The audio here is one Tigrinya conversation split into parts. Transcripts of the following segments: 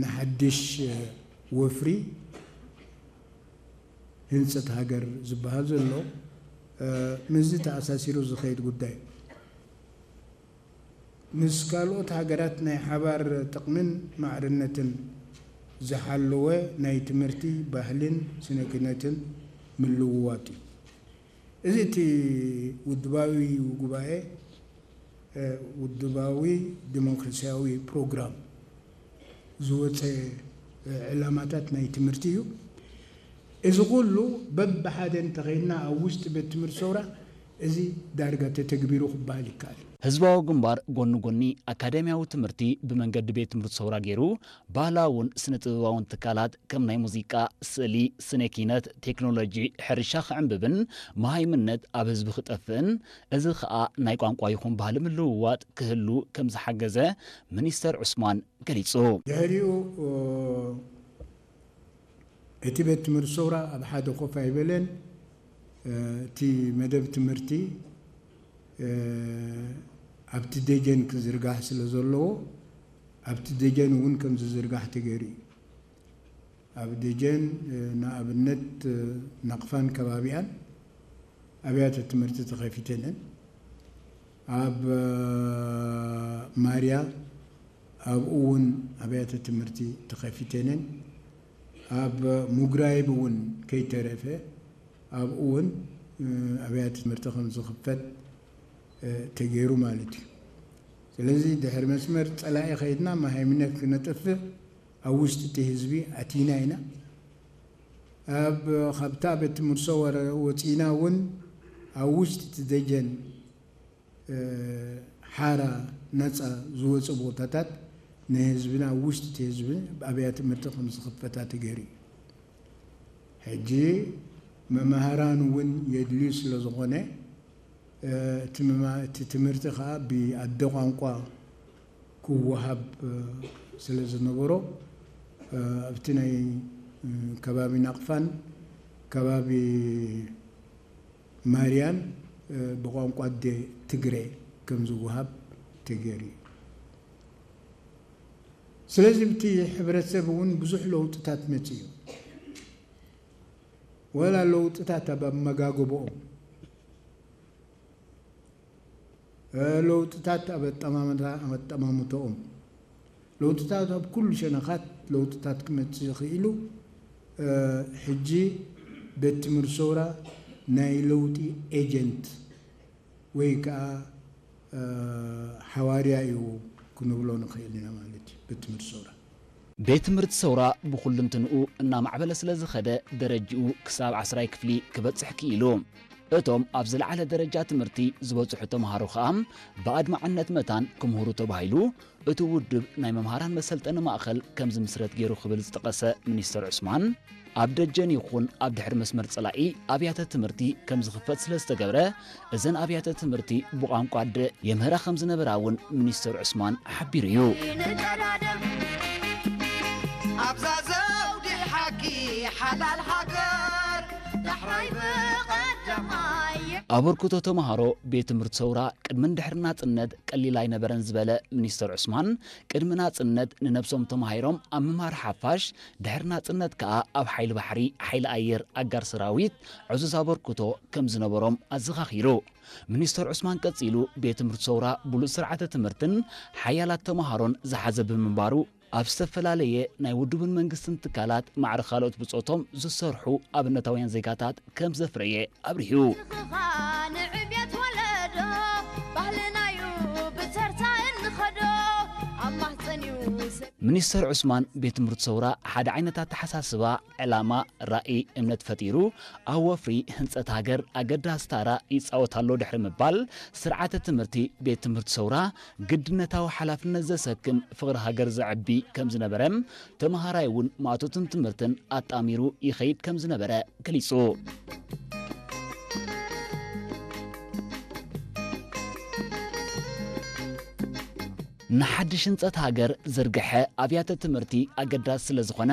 ንሓድሽ ወፍሪ ህንፀት ሃገር ዝበሃል ዘሎ ምስዚ ተኣሳሲሩ ዝኸይድ ጉዳይ ምስ ካልኦት ሃገራት ናይ ሓባር ጥቕምን ማዕርነትን ዝሓለወ ናይ ትምህርቲ ባህልን ስነ ክነትን ምልውዋጥ እዩ። እዚ እቲ ውድባዊ ጉባኤ ውድባዊ ዲሞክራሲያዊ ፕሮግራም ዝወፀ ዕላማታት ናይ ትምህርቲ እዩ። እዚ ኩሉ በብሓደ እንተኸይድና ኣብ ውሽጢ ቤት ትምህርቲ ሰውራ እዚ ዳርጋ ተተግቢሩ ክበሃል ይከኣል። ህዝባዊ ግንባር ጎኒ ጎኒ ኣካዳሚያዊ ትምህርቲ ብመንገዲ ቤት ትምህርቲ ሰውራ ገይሩ ባህላውን ስነ ጥበባውን ትካላት ከም ናይ ሙዚቃ፣ ስእሊ፣ ስነ ኪነት፣ ቴክኖሎጂ፣ ሕርሻ ክዕንብብን መሃይምነት ኣብ ህዝቢ ክጠፍእን እዚ ከኣ ናይ ቋንቋ ይኹን ባህሊ ምልውዋጥ ክህሉ ከም ዝሓገዘ ሚኒስተር ዑስማን ገሊጹ። ድሕሪኡ እቲ ቤት ትምህርቲ ሰውራ ኣብ ሓደ ኮፍ ኣይበለን። እቲ መደብ ትምህርቲ ኣብቲ ደጀን ክዝርጋሕ ስለ ዘለዎ ኣብቲ ደጀን እውን ከም ዝዝርጋሕ ተገይሩ እዩ። ኣብ ደጀን ንኣብነት ናቕፋን ከባቢኣን ኣብያተ ትምህርቲ ተኸፊተን እየን። ኣብ ማርያ ኣብኡ እውን ኣብያተ ትምህርቲ ተኸፊተን እየን። ኣብ ሙግራይብ እውን ከይተረፈ ኣብኡ እውን ኣብያተ ትምህርቲ ከም ዝኽፈት ተገይሩ ማለት እዩ። ስለዚ ድሕሪ መስመር ፀላኢ ከይድና መሃይምነት ክነጥፍእ ኣብ ውሽጢ እቲ ህዝቢ ኣቲና ኢና። ኣብ ካብታ ቤት ትምህርቲ ሰወረ ወፂና እውን ኣብ ውሽጢ እቲ ደጀን ሓራ ነፃ ዝወፁ ቦታታት ንህዝብና ኣብ ውሽጢ እቲ ህዝቢ ኣብያ ትምህርቲ ከም ዝኽፈታ ተገይሩ እዩ። ሕጂ መማህራን እውን የድልዩ ስለ ዝኾነ እቲ ትምህርቲ ከዓ ብኣደ ቋንቋ ክወሃብ ስለ ዝነበሮ ኣብቲ ናይ ከባቢ ናቕፋን ከባቢ ማርያን ብቋንቋ ኣደ ትግረ ከም ዝወሃብ ተገይሩ እዩ። ስለዚ ብቲ ሕብረተሰብ እውን ብዙሕ ለውጥታት መፅኡ እዩ። ወላ ለውጥታት ኣብ ኣመጋግቦኦም ለውጥታት ኣብ ኣጠማምታ ኣጠማምተኦም ለውጥታት ኣብ ኩሉ ሸነኻት ለውጥታት ክመፅእ ይኽእሉ። ሕጂ ቤት ትምህርቲ ሰውራ ናይ ለውጢ ኤጀንት ወይ ከዓ ሓዋርያ እዩ ክንብሎ ንኽእል ኢና ማለት እዩ። ቤት ትምህርቲ ሰውራ ቤት ትምህርቲ ሰውራ ብኹልንትንኡ እናማዕበለ ስለ ዝኸደ ደረጅኡ ክሳብ ዓስራይ ክፍሊ ክበፅሕ ክኢሉ። እቶም ኣብ ዝለዓለ ደረጃ ትምህርቲ ዝበፅሑ ተምሃሮ ከዓ ብኣድማዕነት መታን ክምህሩ ተባሂሉ እቲ ውድብ ናይ መምሃራን መሰልጠኒ ማእኸል ከም ዝምስረት ገይሩ ክብል ዝጠቐሰ ሚኒስተር ዑስማን፣ ኣብ ደጀን ይኹን ኣብ ድሕሪ መስመር ፀላኢ ኣብያተ ትምህርቲ ከም ዝኽፈት ስለ ዝተገብረ እዘን ኣብያተ ትምህርቲ ብቋንቋ ኣደ የምህራ ከም ዝነበራ እውን ሚኒስተር ዑስማን ሓቢሩ እዩ። ኣብዛ ዘውዲ ሓቂ ሓላል ሃገር ዳሕራይ ብቐዳማይ ኣበርክቶ ተምሃሮ ቤት ትምህርቲ ሰውራ ቅድምን ድሕሪ ናጽነት ቀሊል ኣይነበረን ዝበለ ሚኒስተር ዑስማን፣ ቅድሚ ናጽነት ንነብሶም ተማሂሮም ኣብ ምምሃር ሓፋሽ፣ ድሕሪ ናጽነት ከኣ ኣብ ሓይሊ ባሕሪ፣ ሓይሊ ኣየር፣ ኣጋር ሰራዊት ዕዙዝ ኣበርክቶ ከም ዝነበሮም ኣዘኻኺሩ። ሚኒስተር ዑስማን ቀጺሉ፣ ቤት ትምህርቲ ሰውራ ብሉጽ ስርዓተ ትምህርትን ሓያላት ተምሃሮን ዝሓዘ ብምንባሩ፣ ኣብ ዝተፈላለየ ናይ ውድብን መንግስትን ትካላት ማዕረ ካልኦት ብጾቶም ዝሰርሑ ኣብነታውያን ዜጋታት ከም ዘፍረየ ኣብሪሁ። ንዕብየት ወለዶ ባህልናዩ ብተርታ እንኸዶ ኣብ ማህፀንዩ ሰብ። ሚኒስተር ዑስማን ቤት ትምህርቲ ሰውራ ሓደ ዓይነት ኣተሓሳስባ፣ ዕላማ፣ ራእይ፣ እምነት ፈጢሩ ኣብ ወፍሪ ህንፀት ሃገር ኣገዳሲ ታራ ይፃወት ኣሎ ድሕሪ ምባል ስርዓተ ትምህርቲ ቤት ትምህርቲ ሰውራ ግድነታዊ ሓላፍነት ዘሰክም ፍቕሪ ሃገር ዘዕቢ ከም ዝነበረ፣ ተምሃራይ እውን ማእቶትን ትምህርትን ኣጣሚሩ ይኸይድ ከም ዝነበረ ገሊጹ። ንሓድሽ ህንጸት ሃገር ዝርግሐ ኣብያተ ትምህርቲ ኣገዳሲ ስለ ዝኾነ፣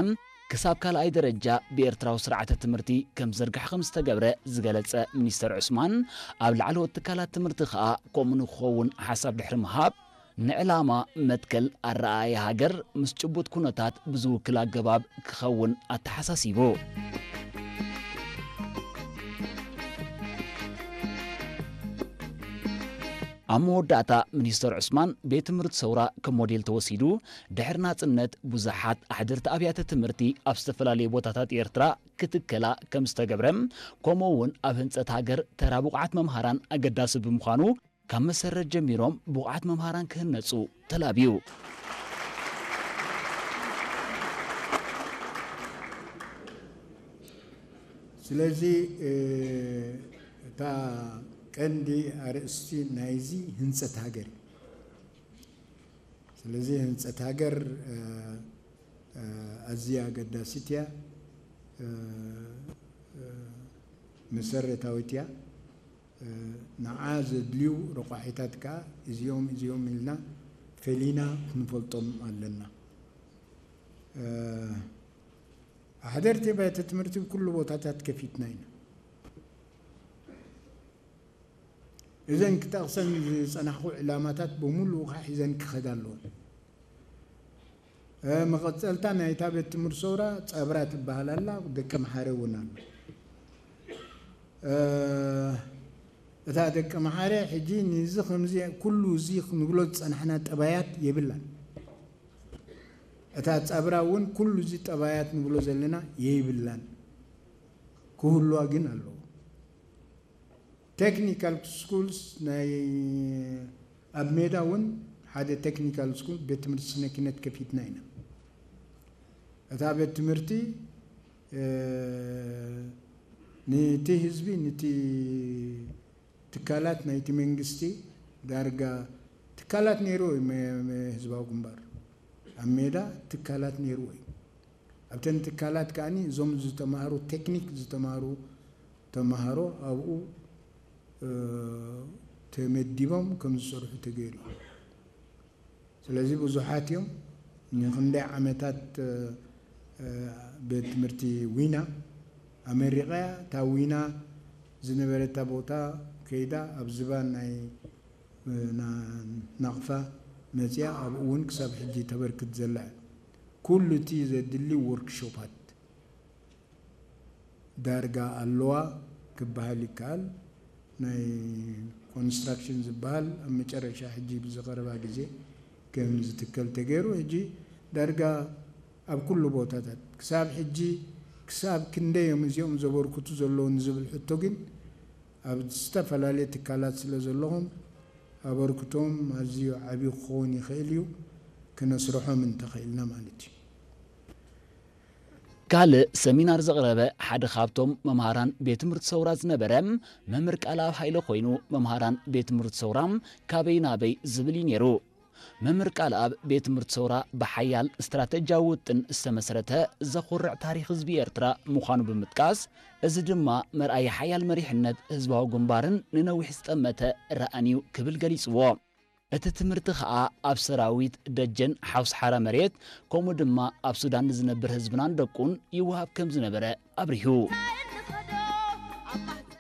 ክሳብ ካልኣይ ደረጃ ብኤርትራዊ ስርዓተ ትምህርቲ ከም ዝርግሐ ከም ዝተገብረ ዝገለጸ ሚኒስተር ዑስማን፣ ኣብ ላዕለዎት ትካላት ትምህርቲ ከኣ ከምኡ ንክኸውን ሓሳብ ድሕሪ ምሃብ፣ ንዕላማ መትከል ኣረኣእያ ሃገር ምስ ጭቡጥ ኩነታት ብዝውክል ኣገባብ ክኸውን ኣተሓሳሲቡ። ኣብ መወዳእታ ሚኒስተር ዑስማን ቤት ትምህርቲ ሰውራ ከም ሞዴል ተወሲዱ፣ ድሕሪ ናጽነት ብዙሓት ኣሕደርቲ ኣብያተ ትምህርቲ ኣብ ዝተፈላለዩ ቦታታት ኤርትራ ክትከላ ከም ዝተገብረ፣ ከምኡ እውን ኣብ ህንጸት ሃገር ተራ ብቑዓት መምሃራን ኣገዳሲ ብምዃኑ፣ ካብ መሰረት ጀሚሮም ብቑዓት መምሃራን ክህነጹ ተላብዩ። ስለዚ እታ ቀንዲ ኣርእስቲ ናይዚ ህንፀት ሃገር እዩ። ስለዚ ህንፀት ሃገር ኣዝያ ኣገዳሲት እያ፣ መሰረታዊት እያ። ንዓ ዘድልዩ ረቋሒታት ከዓ እዚኦም እዚኦም ኢልና ፈሊና ክንፈልጦም ኣለና። ኣሕደርቲ ቤተ ትምህርቲ ብኩሉ ቦታታት ከፊትና ኢና። እዘን ክጠቕሰን ዝጸናሕኹ ዕላማታት ብምሉኡ ከዓ ሒዘን ክኸዳ ኣለወን። መቐጸልታ ናይታ ቤት ትምህርቲ ሰውራ ጸብራ ትበሃል ኣላ፣ ደቂ መሓረ እውን ኣሎ። እታ ደቂ መሓረ ሕጂ ንዚ ከምዚ ኩሉ እዚ ክንብሎ ዝጸናሕና ጠባያት የብላን። እታ ጸብራ እውን ኩሉ እዚ ጠባያት ንብሎ ዘለና የይብላን፣ ክህልዋ ግን ኣለዎ። ቴክኒካል ስኩልስ ናይ ኣብ ሜዳ እውን ሓደ ቴክኒካል ስኩል ቤት ትምህርቲ ስነ ኪነት ከፊትና ኢና። እታ ቤት ትምህርቲ ንቲ ህዝቢ ንቲ ትካላት ናይቲ መንግስቲ ዳርጋ ትካላት ነይርዎ እዩ ህዝባዊ ግንባር ኣብ ሜዳ ትካላት ነይርዎ እዩ። ኣብተን ትካላት ከዓኒ እዞም ዝተማሃሩ ቴክኒክ ዝተማሃሩ ተማሃሮ ኣብኡ ተመዲቦም ከም ዝሰርሑ ተገይሩ እዩ። ስለዚ ብዙሓት እዮም። ንክንደይ ዓመታት ቤት ትምህርቲ ዊና ኣመሪቐያ እታ ዊና ዝነበረታ ቦታ ከይዳ ኣብ ዝባን ናይ ናቕፋ መፅያ ኣብኡ እውን ክሳብ ሕጂ ተበርክት ዘላ ኩሉ እቲ ዘድሊ ወርክሾፓት ዳርጋ ኣለዋ ክበሃል ይከኣል። ናይ ኮንስትራክሽን ዝበሃል ኣብ መጨረሻ ሕጂ ብዝቐረባ ግዜ ከም ዝትከል ተገይሩ ሕጂ ዳርጋ ኣብ ኩሉ ቦታታት ክሳብ ሕጂ ክሳብ ክንደይ እዮም እዚኦም ዘበርክቱ ዘለዉ ንዝብል ሕቶ ግን ኣብ ዝተፈላለየ ትካላት ስለ ዘለኹም ኣበርክቶም ኣዝዩ ዓብዩ ክኸውን ይኽእል እዩ ክነስርሖም እንተኽእልና ማለት እዩ። ካልእ ሰሚናር ዘቕረበ ሓደ ካብቶም መምሃራን ቤት ትምህርቲ ሰውራ ዝነበረ መምህር ቃልኣብ ሃይለ ኮይኑ፣ መምሃራን ቤት ትምህርቲ ሰውራ ካበይ ናበይ ዝብል እዩ ነይሩ። መምህር ቃልኣብ ቤት ትምህርቲ ሰውራ ብሓያል ስትራተጂያዊ ውጥን ዝተመስረተ ዘኹርዕ ታሪኽ ህዝቢ ኤርትራ ምዃኑ ብምጥቃስ፣ እዚ ድማ መርኣያ ሓያል መሪሕነት ህዝባዊ ግንባርን ንነዊሕ ዝጠመተ ራእን እዩ ክብል ገሊጽዎ። እቲ ትምህርቲ ኸኣ ኣብ ሰራዊት፣ ደጀን፣ ሓውሲ ሓራ መሬት፣ ከምኡ ድማ ኣብ ሱዳን ንዝነብር ህዝብናን ደቁን ይወሃብ ከም ዝነበረ ኣብሪሁ።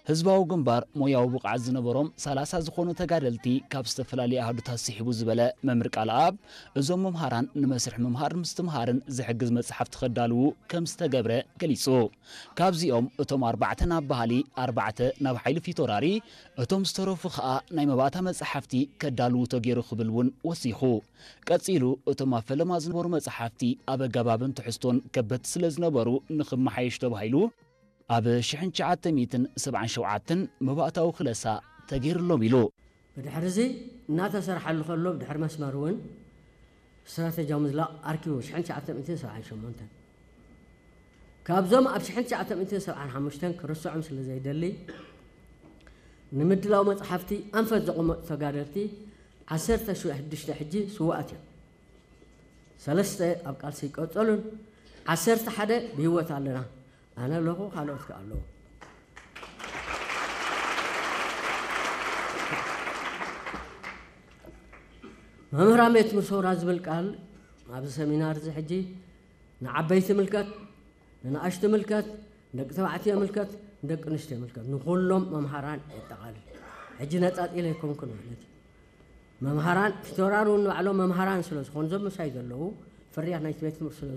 ህዝባዊ ግንባር ሞያዊ ብቕዓት ዝነበሮም ሰላሳ ዝኾኑ ተጋደልቲ ካብ ዝተፈላለዩ ኣሃዱታት ስሒቡ ዝበለ መምህር ቃልኣብ፣ እዞም መምሃራን ንመስርሕ ምምሃር ምስትምሃርን ዝሕግዝ መጽሓፍቲ ከዳልዉ ከም ዝተገብረ ገሊጹ። ካብዚኦም እቶም ኣርባዕተ ናብ ባህሊ፣ ኣርባዕተ ናብ ሓይሊ ፊት ወራሪ፣ እቶም ዝተረፉ ኸኣ ናይ መባእታ መጻሕፍቲ ከዳልዉ ተገይሩ ክብል እውን ወሲኹ። ቀጺሉ እቶም ኣብ ፈለማ ዝነበሩ መጻሕፍቲ ኣብ ኣገባብን ትሕዝቶን ከበድቲ ስለ ዝነበሩ ንኽመሓየሽ ተባሂሉ ኣብ ሽሕን ትሽዓተ ሚእትን ሰብዓን ሸውዓተን መባእታዊ ክለሳ ተገይሩሎም ኢሉ። ብድሕሪ እዚ እናተሰርሓሉ ከሎ ብድሕሪ መስመር እውን ስትራተጂያዊ ምዝላቕ ኣርኪቡ ሽሕን ትሽዓተ ሚእትን ሰብዓን ሸሞንተን ካብዞም ኣብ ሽሕን ትሽዓተ ሚእትን ሰብዓን ሓሙሽተን ክርስዖም ስለ ዘይደሊ ንምድላው መፅሓፍቲ ኣንፈት ዘቐመጡ ተጋደልቲ ዓሰርተ ሽዱሽተ ሕጂ ስውኣት እዮም። ሰለስተ ኣብ ቃልሲ ይቀፀሉን ዓሰርተ ሓደ ብህይወት ኣለና ኣነ ኣለኹ ካልኦት ከ ኣለዉ። መምህራን ቤት ምሶራ ዝብል ቃል ኣብዚ ሰሚናር እዚ ሕጂ ንዓበይቲ ምልከት ንንኣሽቱ ምልከት ንደቂ ተባዕትዮ ምልከት ንደቂ ኣንስትዮ ምልከት ንኩሎም መምሃራን የጠቓልል። ሕጂ ነፃፂለ ኣይኮንኩን ማለት እዩ። መምሃራን ቲቶራን እውን ንባዕሎም መምሃራን ስለ ዝኾኑ፣ እዞም ምሳይ ዘለዉ ፍርያት ናይቲ ቤት ትምህርቲ ስለ